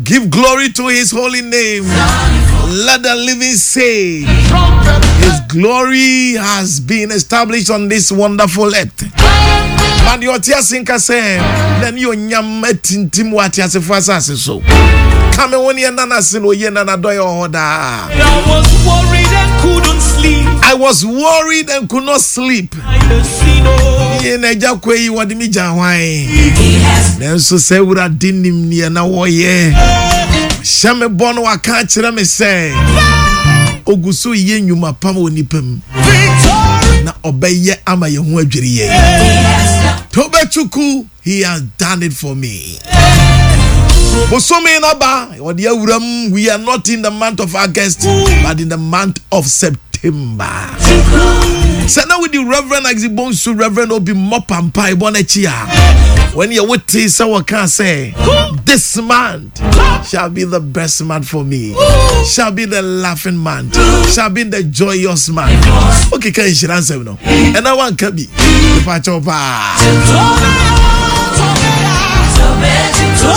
Give glory to his holy name. Let the living say, His glory has been established on this wonderful earth. Ma deɛ ɔte ase nka sɛ na ne onyam atintim wɔ ateasefo asase so. Ka me ho ne ɛna no ase na oye na n'adɔeɛ wɔ hɔ daa. I was worried and couldn't sleep. I was worried and could not sleep. Yie na agya kɔ yi wɔde me gya hwan. Nanso sɛ Awurade nim neɛ na wɔyɛ. Hyɛ me bɔ no waka akyerɛ me sɛ ogu so yɛ nnwuma pam wɔ nipa mu na ɔbɛyɛ ama yɛn ho adwiri yɛn. Tobɛtuku, he has done it for me. Bosome no aba, wɔde awuram. We are not in the month of August, but in the month of September. Sɛ na wodi Reverend Isaac Bonsu, Reverend Obi Mɔpa mpaebɔ no akyi a, wɔn yɛ wote sɛ wɔka sɛ, this month shall be the best month for me, shall be the laughing month, shall be the joyous month. Okeka nhyira nsɛm no, ɛna wanka bi, nipa kyɛw paa.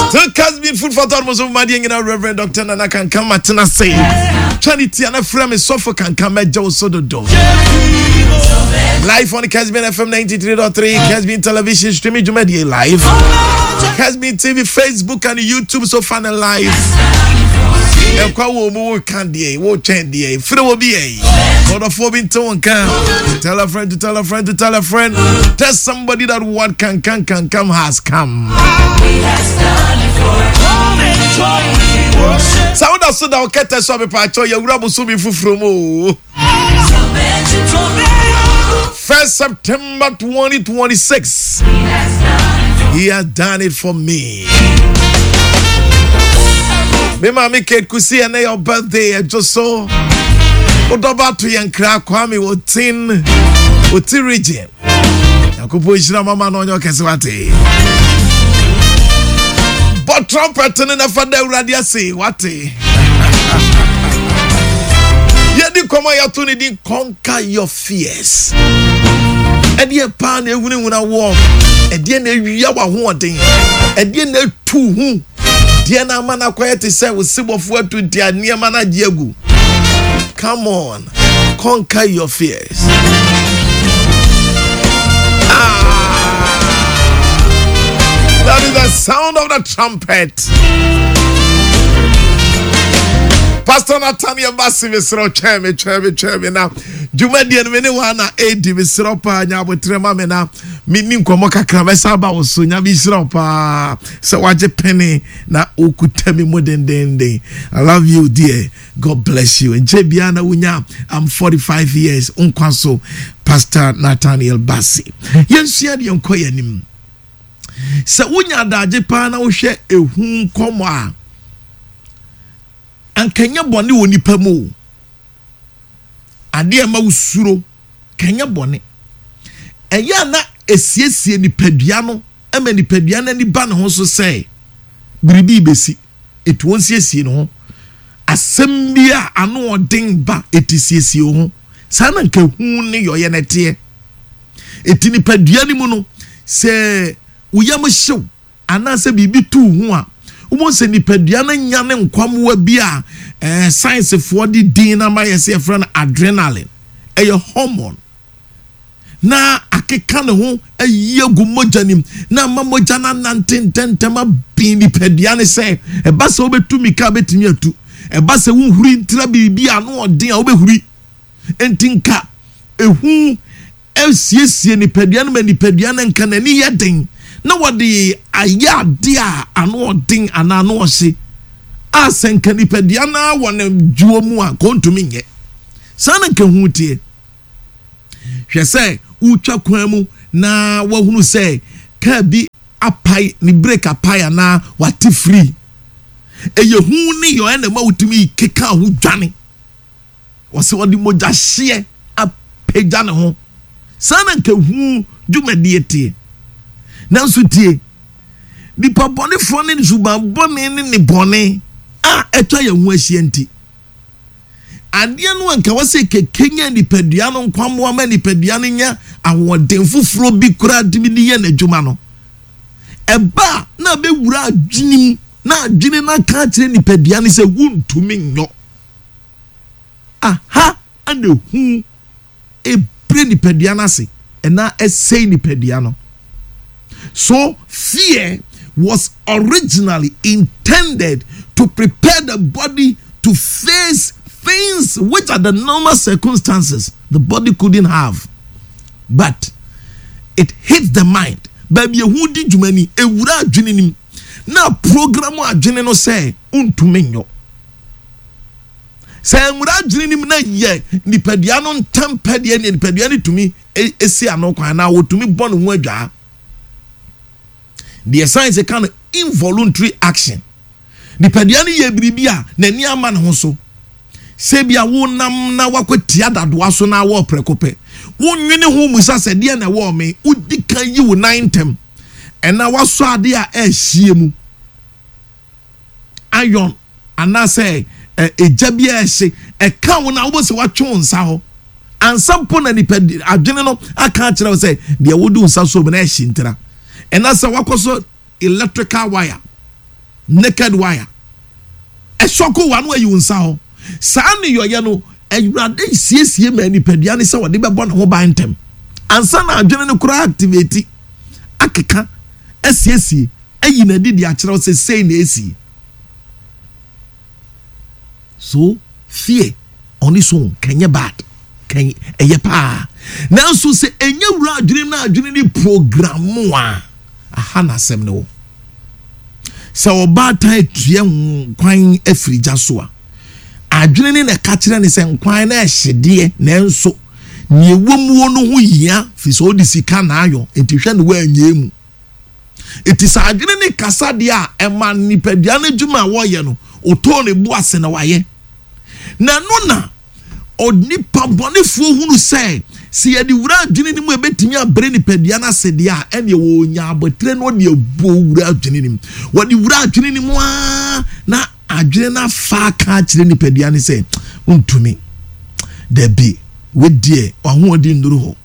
Still Casbin food for thought mo so ma deɛ nyina Reverend Dr. Nana Kankan matena se twa ne tia na frɛ me sɔfo Kankan mɛgye wo so dodo. Live on Casbin FM 93.3, Casbin Television streaming dwumadie live. Casbin TV, Facebook and YouTube so fun and live. Ɛkwa wɔ mu wo ka deɛ wo twɛn deɛ frɛ wɔ bi yɛ ɔdɔfoɔ bi nte wo nka. Tell a friend to tell a friend to tell a friend. Tell somebody that what can can can come has come. Sɛ woda so da wo kɛtɛ so a mepaakyɛw yɛwura bosome foforɔ mu o. First September 2026. He has done it for me. Me maame Kate Kusi ɛnɛ your birthday ɛdwo so. Wodɔba to yɛn kra Kwame Otin Oti region. Nyankopɔn nhyira mama na ɔnyɛ ɔkɛse wate. Bɔ trumpet no na fa da Awurade ase wate. Yɛdi nkɔmmɔ a yɛato ne din Conquer Your Fears. Ɛdeɛ paa na ehunahuna woɔ. Ɛdeɛ na ewia w'ahoɔden. Ɛdeɛ na etu ho. Deɛ na ama no akɔyɛ te sɛ wo sebɔfo atu nti a nneɛma no agye agu. Come on, conquer your fears. Ah, that is the sound of the trumpet. Pastor Nathaniel Bassi mesrɛ twɛn me twɛn me twɛn me na dwumadie no me ne wɔn na ɛredi mesrɛ paa nya abotrɛ ma me na menni nkɔmmɔ kakra mɛsa aba wo so nyame nhyira wo paa sɛ wagye pene na wokuta me mu dendenden I love you dear God bless you nkyɛ biara na wonya I'm 45 years nkwa so Pastor Nathaniel Bassi yɛnsua deɛ nkɔ yɛn anim Sɛ wonya adagye paa na wohwɛ ehu nkɔmmɔ a, anka ɛnyɛ bɔne wɔ nipa mu o. Adeɛ a ɛma wosuro, ka ɛnyɛ bɔne. Ɛyɛ a na esiesie nipadua no ma nipadua no ani ba ne ho so sɛ biribi rebɛsi, eti wɔnsiesie ne ho. Asɛm bi a ano ɔden ba, eti siesie wo ho. Saa na nka ehu ne yɔyɛ no teɛ. Enti nipadua no mu no, sɛ wo yam hyew anaasɛ biribi tu wo ho a, wobɛhu sɛ nipadua no nya ne nkwammoa bi a eh, sayensefoɔ de din no ama yɛ sɛ yɛfrɛ no adrenaline. Ɛyɛ hormone. Na akeka ne ho ayi agu mogya no mu na ama mogya no anante ntɛmntɛm abɛn nipadua no sɛ ɛba sɛ wobɛtu mmirika a wobɛtumi atu, ɛba sɛ wohuri ntra biribi a ano ɔden a wobɛhuri. Enti nka ehu siesie nipadua no ma nipadua no nka n'ani yɛ den na wɔde ayɛ ade a ano ɔden anaa ano ɔhye a sɛ nka nipadua no ara wɔ ne dwoɔ mu a nka ɔntumi nyɛ. Saa na nka ehu teɛ. Hwɛ sɛ wotwa kwan mu na wahunu sɛ kaa bi apae, ne brake apae anaa wate firi. Ɛyɛ hu ne yɔɛ na ɛma wotumi keka ho dwane. Wɔsɛ ɔde mogyahyeɛ apagya ne ho. Saa na nka hu dwumadie teɛ. Nanso tie, nipa bɔnefoɔ ne suban bɔne ne ne bɔne a atwa yɛn ho ahyia nti, adeɛ no a nka wɔsɛ kɛkɛnya nipadua no nkwammoa ma nipadua no nya ahoɔden foforɔ bi koraa tumi de yɛ n'adwuma no, ɛba a na abɛwura adwene mu. na adwene no aka akyerɛ nipadua no sɛ wontumi nyɔ. Aha na ehu ebrɛ nipadua no ase ɛna ɛsɛe nipadua no. So fear was originally intended to prepare the body to face things which are the normal circumstances the body couldn't have. But it hits the mind. Baabi ehu di dwuma ni, ewura adwene nim. Na program adwene no sɛ ntumi nyɔ. Sɛ nwura adwene nim na yɛ nipadua no ntɛm pɛ deɛ ne nipadua no tumi si ano kwan na wɔtumi bɔ ne ho adwaa. Deɛ science ka no involuntary action. Nipadua no yɛ biribi a n'ani ama ne ho so. Sɛ bi a wonam na wakɔtia dadoa so na awɔ prɛko pɛ. Wonwene ho musa sɛ deɛ na ɛwɔ me, wodi kan yi wo nan ntɛm. Ɛna wasɔ adeɛ a ɛrehyie mu. Iron anaasɛ egya bi a ɛhye ɛka wo na wobɔ sɛ watwe wo nsa hɔ. Ansa mpo na nipa adwene no aka akyerɛ wo sɛ deɛ wode wo nsa so mu na ɛhye ntira. Ɛna sɛ wakɔ so electrical wire, naked wire, ɛsɔko wa no ayi wo nsa hɔ. Saa nneyɔeɛ no, Awurade siesie ma nipadua no sɛ ɔde bɛbɔ ne ho ban ntɛm. Ansa na adwene no koraa activate, akeka, asiesie, ayi n'adi de akyerɛ wo sɛ sei na esi. So fear on its own kɛnyɛ bad, kɛn ɛyɛ paa. Nanso sɛ ɛnyɛ wura adwene na adwene ne program a, aha na asɛm no wɔ. Sɛ ɔbaatan atua nkwan afiri gya so a, adwene ne na ɛka kyerɛ ne sɛ nkwan no ɛhye deɛ, nanso nea ɛwɔ muo no ho hia firi sɛ ɔde sika na ayɔ, nti hwɛ ne woanyɛ mu. Enti sɛ adwene ne kasa deɛ a, ɛma nipadua no adwuma a wɔyɛ no, ɔtɔɔ ne bo ase na wayɛ. Na ɛno na onipa bɔnefoɔ hunu sɛ, sɛ yɛde wura adwene no mu a ɛbɛtumi abrɛ nipadua no ase deɛ a, ɛneɛ wɔnya abotire na ɔde abuo wura adwene no mu. Wɔde wura adwene no mu ara na adwene no afa aka akyerɛ nipadua no sɛ, wontumi. Dabi, wedeɛ w'ahoɔden nnuru hɔ.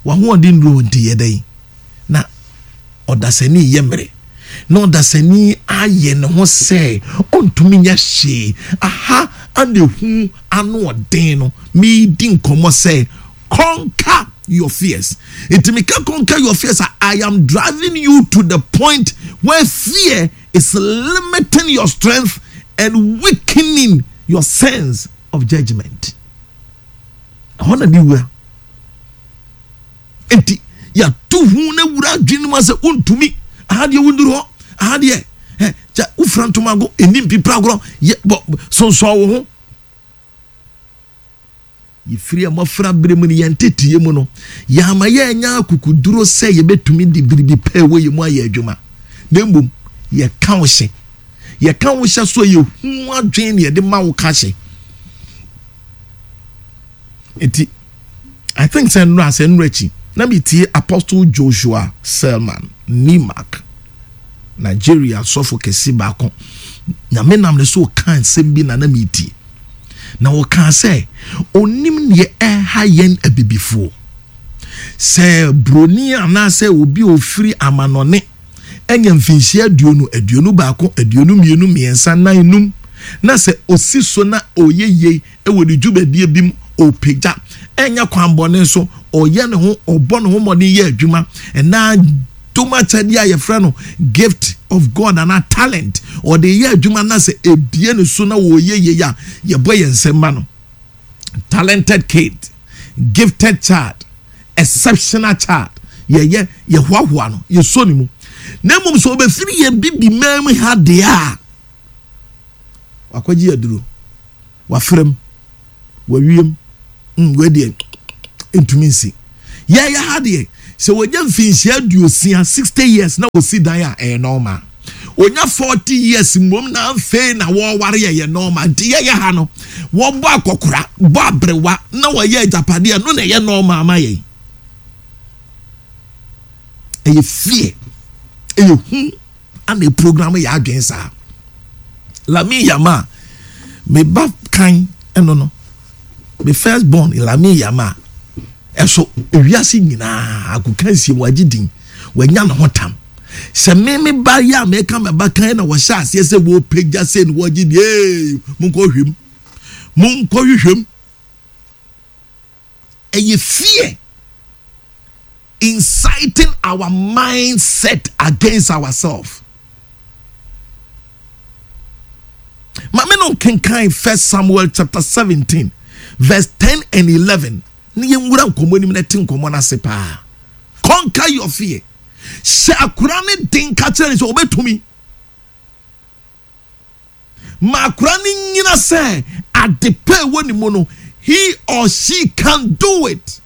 W'ahoɔden nnuru hɔ nti yɛ dɛn? na ɔdasani yɛ mmerɛ, na ɔdasani ayɛ ne ho sɛ ɔntumi nyɛ hwee. Aha ana ehu ano ɔden no, meredi nkɔmmɔ sɛ conquer your fears. Nti meka conquer your fears a, I am driving you to the point where fear is limiting your strength and weakening your sense of judgment. Ɛhɔ na ne wura. Enti yɛato hu no awura adwene no mu sɛ wontumi, aha deɛ wonduru hɔ, aha deɛ ɛ kyɛ wofira ntomago, ɛni mpipira agorɔ, yɛ bɔ sonsɔn wo ho. Yɛfiri mmɔfra berɛ mu no, yɛn nteteeɛ mu no, yɛama yɛanya akokoduro sɛ yɛbɛtumi de biribi pɛ ɛwɔ yɛn mu ayɛ adwuma. Na mmom, yɛka wo hyɛ. Yɛka wo hyɛ so a yɛhu adwene na yɛde ma wo ka hyɛ. Nti, I think sɛ nnora sɛ nnora akyi na metie Apostle Joshua Selman Nimak, Nigeria sɔfo kɛse baako. Nyame nam ne so ɔka nsɛm bi na na metie. Na ɔkaa sɛ onim neɛ ɛha yɛn abibifoɔ. Sɛ broni anaasɛ obi a ofiri amanɔne anya mfinhyia aduonu, 21, 22, 3, 4, 5, na sɛ osi so na ɔyɛ yie wɔ ne dwumadie bi mu, ɔpagya, ɛnyɛ kwanbɔne so, ɔyɛ ne ho, ɔbɔ ne ho mmɔden yɛ adwuma, ɛnaa dom akyɛdeɛ a yɛfrɛ no gift of God anaa talent, ɔde yɛ adwuma na sɛ ebie ne so na wɔyɛ yie a, yɛbɔ yɛn nsam ma no. Talented kid, gifted child, exceptional child, yɛyɛ, yɛhoahoa no, yɛsɔ ne mu. Na mmom sɛ ɔbɛfiri yɛn bibi man mu ha deɛ a, wakɔgye aduro. Wafrɛ wawiem, wei deɛ ntumi nsi. Yɛyɛ ha deɛ, sɛ wɔnya mfinhyia 60, 60 years na wɔsi dan a, ɛyɛ normal. Onya 40 years mmom na afei na wɔware ɛyɛ normal. Nti yɛyɛ ha no, wɔbɔ akɔkora, bɔ aberewa na wɔyɛ agyapadeɛ, no na ɛyɛ normal ma yɛn. Ɛyɛ fear, ɛyɛ hu. Ana program yɛ adwene saa. Lamine Yamal, me ba kan ɛno no, me first born Lamine Yamal, ɛso ewiase nyinaa agokansie wagye din, wanya ne ho tam. Sɛ me me ba yi a meka me ba kan na wɔhyɛ aseɛ sɛ wɔpagya sɛ ne wɔgye deɛ ee monkɔ hwehwɛ mu monkɔ hwehwɛ mu ɛyɛ fear inciting our mindset against ourselves maame no nkenkan first samuel chapter 17 verse 10 and 11 ne yɛnwura nkɔmmɔ anim na ɛte nkɔmmɔ no ase paa conquer your fear hyɛ akora ne den ka kyerɛ ne sɛ ɔbɛtumi ma akora no nyina sɛ ade pɛ ɛwɔ ne mu no he or she can do it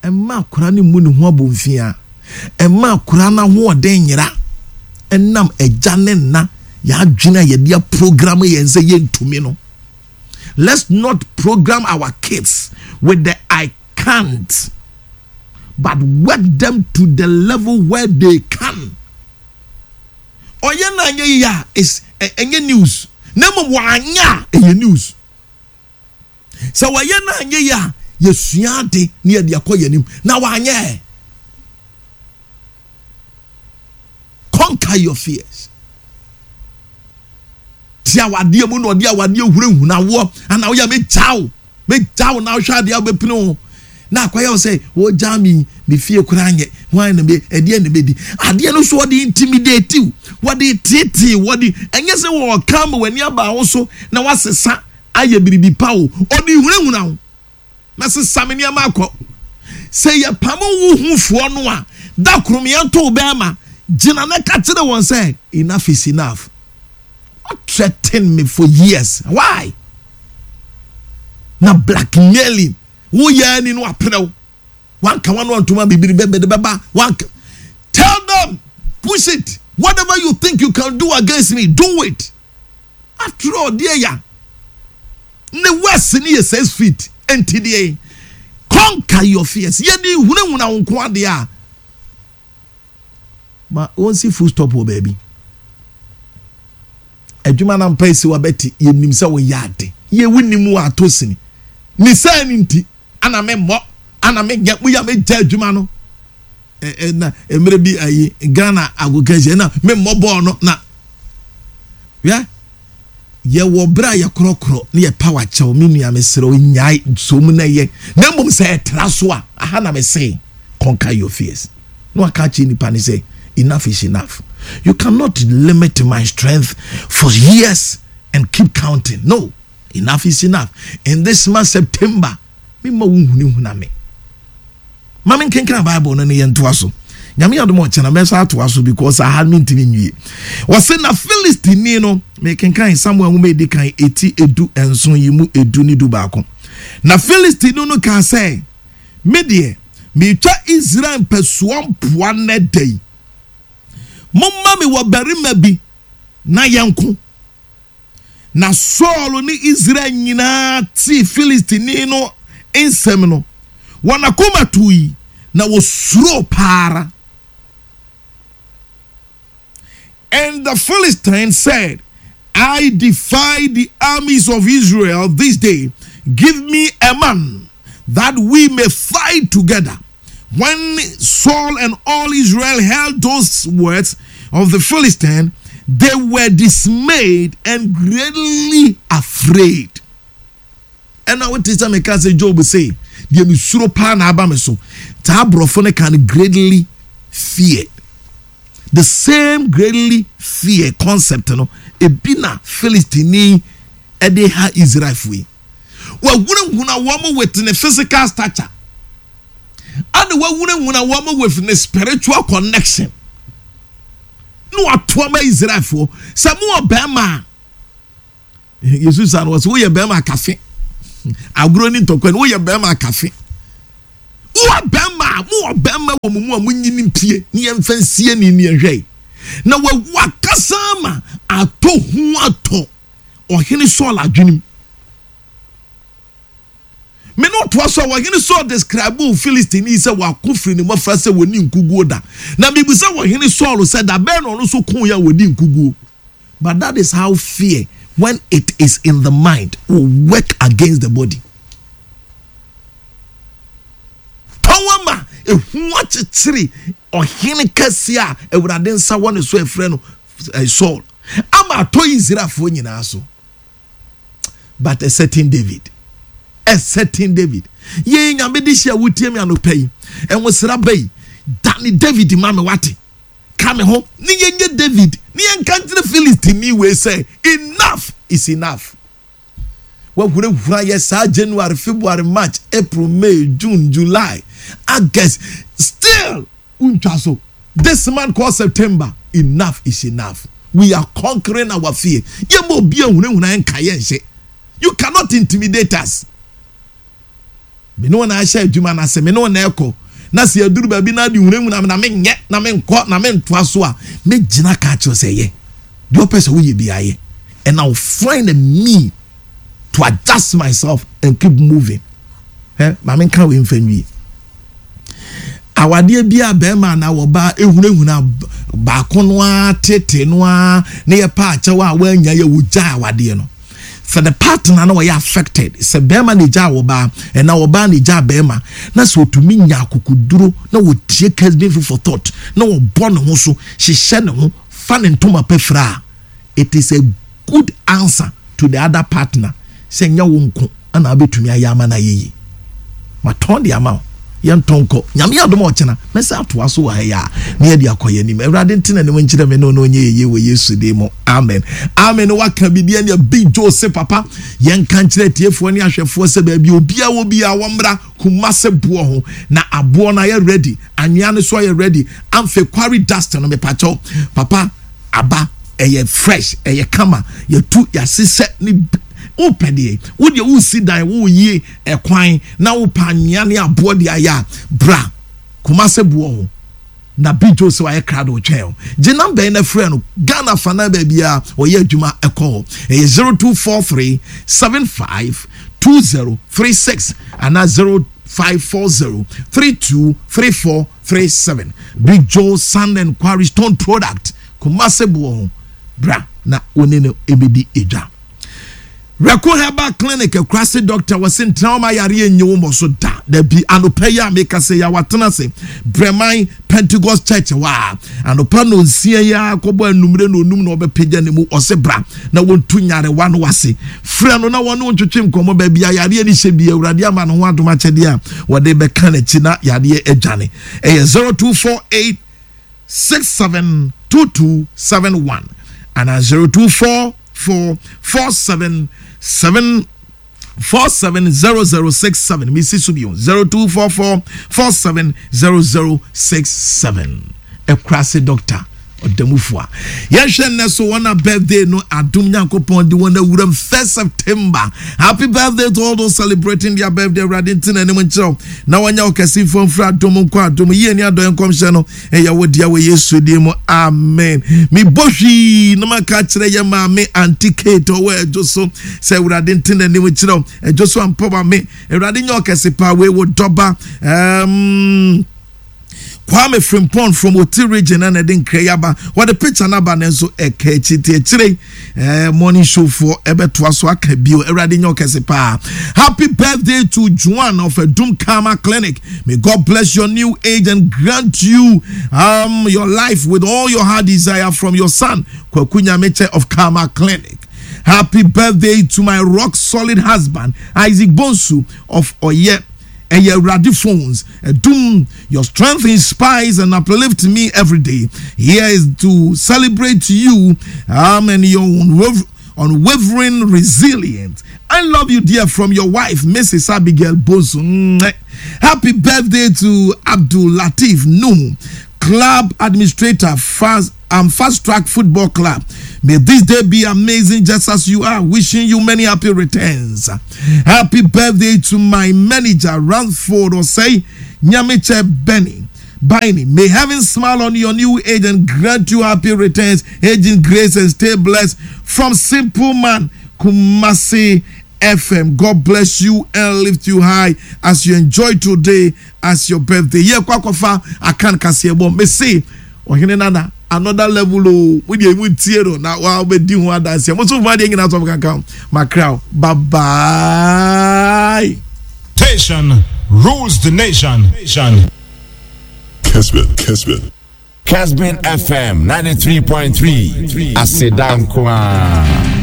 ɛma akora no mu ne ho abomfia ɛma akora no ahoɔden nyera ɛnam agya ne nna yɛadwene a yɛde aprogram yɛn sɛ yɛntumi no let's not program our kids with the i can't but work them to the level where they can ɔyɛ no anyɛ yie a is ɛnyɛ news na mmom wanyɛ a ɛyɛ news sɛ wɔyɛ no anyɛ yie a yɛsua ade ne yɛde akɔ yɛn anim na wanyɛ conquer your fears ti awadeɛ mu na ɔde awadeɛ hunahuna woɔ ana woyɛ megya wo megya wo na wohwɛ adeɛ a wobɛpene ho na akɔyɛ wo sɛ wɔgya me me fie koraa nyɛ hwan na me ɛdeɛ na mɛdi adeɛ no so wɔde intimidate wo wɔde tetee wɔde ɛnyɛ sɛ wɔka ma w'ani aba wo so na wasesa ayɛ biribi pa wo ɔde hunahuna wo na sesa me nneɛma akɔ sɛ yɛpam wo hufoɔ no a da koro meɛnto wo bɛrima gyina na ka kyerɛ wɔn sɛ enough is enough what threaten me for years why na blackmailing woyɛ ani no aperew wanka wano antoma bibiri bɛbɛde bɛba wanka tell them push it whatever you think you can do against me do it after all deɛ ya ne west ne yɛ 6 feet nti deɛ conquer your fears yɛde hunahuna wo nko adeɛ a ma wɔnsi full stop wɔ baabi adwuma na mpa esi wabɛti yɛnim sɛ woyɛ ade yɛwu nim wɔ atɔ sini ne saa ne nti ana me mmɔ ana me nyɛ moyɛ megya adwuma no na mmerɛ bi ayi Ghana agokansi na me mmɔ bɔɔl no na yɛ yɛwɔ berɛ a yɛkorɔkorɔ ne yɛ power kyɛw me nua mesrɛ wo nyae so mu na yɛ na mmom sɛ ɛtra so a aha na mese conquer your fears na waka akyerɛ nipa ne sɛ enough is enough you cannot limit my strength for years and keep counting no enough is enough in this month september me ma wo hunahuna me ma me nkenkan bible no ne yɛntoa so nyame adom ɔkyena mɛsa atoa so because aha mentumi nwie wɔse na philistini no mekenkan samuel nwoma ɛdi kan ɛti 17 yi mu 10 ne 11 na philistini no kaa sɛ me deɛ metwa israel mpɛsoa mpoa nnɛ da yi momma me wɔ barima bi na yɛnko na Saul ne Israel nyinaa tee Filistini no nsɛm no wɔn akoma tui na wɔsuro paara. And the Philistine said, I defy the armies of Israel this day. Give me a man that we may fight together. When Saul and all Israel heard those words of the Philistine, they were dismayed and greatly afraid. ɛna wote sɛ meka sɛ job sɛ deɛ mesuro paa na aba me so taa aborɔfo no ka no greatly feared the same greatly fear concept no ebi na philistine ɛde ha israelfoɔ yi wahunahuna wɔn with ne physical stature ana wahunahuna wɔn with ne spiritual connection na wato ama israelfoɔ sɛ mo wɔ bɛrima a yesu sa no wɔ sɛ woyɛ bɛrima akafe agorɔ ne ntɔkwa no woyɛ bɛrima akafe wowɔ bɛrima a mowɔ bɛrima wɔ mo mu a monyini mpie ne yɛmfa nsie ne ne yɛhwɛ na wakasa ama atɔ hu atɔ ɔhene Saul adwenem me ne ɔtoa so a wɔhene Saul describe Philistine sɛ wako firi ne mmɔfra sɛ wɔni nkuguo da na mibisa wɔhene Saul sɛ da bɛn na ɔno nso ko yɛ a wɔdi nkuguo but that is how fear when it is in the mind will work against the body. Tɔn ama Ehu akyekyere ɔhene kɛseɛ a Awurade nsa wɔ ne so a ɛfrɛ no eh, Saul ama atɔ Israelfoɔ nyinaa so. But a certain David, a certain David, yei nyame de hyia wotie me anɔpa yi, ɛnwosra ba yi, dane David ma me wate, ka me ho, ne yɛnyɛ David, ne yɛnka nkyerɛ Philistini wei sɛ, enough is enough. Wahurahura yɛ saa January, February, March, April, May, June, July, August, still wontwa so. This month called September, enough is enough. We are conquering our fear. Yɛma obi ahunahuna yɛn nka yɛn nhyɛ. You cannot intimidate us. Me ne wɔn ahyɛ adwuma no ase, me ne wɔn ɛkɔ. Na sɛ yɛduru baabi na ade hunahuna me na menyɛ, na menkɔ, na mentoa so a, mɛgyina ka akyerɛ sɛ yɛ. Deɛ ɔpɛ sɛ woyɛ biara yɛ. And I will find a mean to adjust myself and keep moving. Eh, ma menka wei mfa nwie. Awadeɛ bi a bɛrima anaa wɔbaa ehunahuna baako no ara tete no ara na yɛpa akyɛw a wɔanya yɛ wɔgya awadeɛ no. Sɛ the partner na ɔyɛ affected, sɛ bɛrima na egyaa ɔbaa, ɛna ɔbaa na egyaa bɛrima, na sɛ otumi nya akokoduro na wɔtie Kesbin Food for Thought na ɔbɔ ne ho so, hyehyɛ ne ho, fa ne ntoma pɛ fira a, it is a good answer to the other partner sɛ nyɛ wo nko na wobɛtumi ayɛ ama no ayɛ yie. Matɔn de ama wo. Yɛntɔn nkɔ. Nyame adom a ɔkyena mɛsan atoa so wɔ ha yi a na yɛde akɔ yɛn anim. Awurade nte n'anim nkyerɛ me ne wo na ɔnyɛ yɛn yie wɔ Yesu din mu. Amen. Amen. Waka biribi ɛnea Big Joe se papa yɛnka nkyerɛ atiefoɔ ne ahwɛfoɔ sɛ baabi obiara wɔ biara wɔmmra Kumase boɔ ho na aboɔ no ayɛ ready, anwea no so ayɛ ready, amfe quarry dust no mepakyɛw papa aba ɛyɛ fresh ɛyɛ kama yɛtu yɛasesɛ ne wopɛ deɛ wo deɛ wosi dan woyi ɛkwan na wopɛ anwea ne aboɔ de ayɛ a bra Kumase boɔ ho na Big Joe sɛ wayɛ krado twɛn o gye namba yi na frɛ no Ghana fa na baabi a ɔyɛ adwuma ɛkɔ hɔ ɛyɛ 0243 75 2036 anaa 0540 32 3437 Big Joe Sand and Quarry Stone Product Kumase boɔ ho bra na wo ne no ɛbɛdi edwa. Reko Herbal Clinic akurase doctor wɔse ntena hɔ ma yareɛ nnye wo mmɔ so da. Dabi, anɔpa yi a meka sɛ yɛ watena ase Breman Pentecost Church hɔ a anɔpa nonsia yi ara kɔbɔ anumere na onum na ɔbɛpagya ne mu ɔse bra na wɔntu nyarewa no ase. Frɛ no na wɔne wo ntwetwe nkɔmmɔ baabi a yareɛ no hyɛ bi Awurade ama ne ho adom akyɛdeɛ a wɔde bɛka n'akyi na yareɛ adwane. Ɛyɛ 0248 672271 anaa 024 4 47 7 470067 mesi so bio 0244 470067 ɛkurase doctor ɔdamufo a yɛhwɛ nnɛ so wɔn a birthday no adom nyankopɔn de wɔn awuram first september happy birthday to all those celebrating their birthday awurade nti na anim nkyerɛw na wɔnyɛ ɔkɛse mfo mfiri adom nkɔ adom yie ne adɔeɛ nkɔmhyɛ no ɛyɛ wo dea wɔ Yesu din mu amen mebɔ hwii na maka akyerɛ yɛ maame Auntie Kate ɔwɔ ɛdwo so sɛ awurade nte n'anim kyerɛ ɛdwo so ampɔ ma me awurade nyɛ ɔkɛse paa wei wo dɔba um, Kwame Frimpong from Oti region na ɛde nkra yi aba wɔde picture no aba nanso ɛka akyi te akyire eh, morning show foɔ ɛbɛtoa so aka bio awurade nyɛ ɔkɛse paa happy birthday to Joan of Adum Karma Clinic may God bless your new age and grant you um, your life with all your heart desire from your son Kwaku Nyameche of Karma Clinic happy birthday to my rock solid husband Isaac Bonsu of Oye ɛyɛ Awurade phones ɛdum your strength inspires and uplift me every day here is to celebrate you um, and your unwavering resilience I love you dear from your wife Mrs. Abigail Bonsu happy birthday to Abdul Latif Nuhu club administrator fast um, Fast Track Football Club. May this day be amazing just as you are. Wishing you many happy returns. Happy birthday to my manager, Ramford Osei Nyamiche Benny. Biney. May heaven smile on your new age and grant you happy returns, age in grace, and stay blessed. From Simple Man, Kumasi FM. God bless you and lift you high as you enjoy today as your birthday. Yeah, kwakwafa akan kaseɛbɔ. Mese ɔhene nana another level o. Mo deɛ mu ntie no na wa bɛdi ho adanseɛ. Mo so mo adeɛ nyinaa sɔfo kankan. Makra bye bye. Station rules the nation. Nation. Kesbin, Kesbin. Kesbin FM 93.3 Aseda nko ara.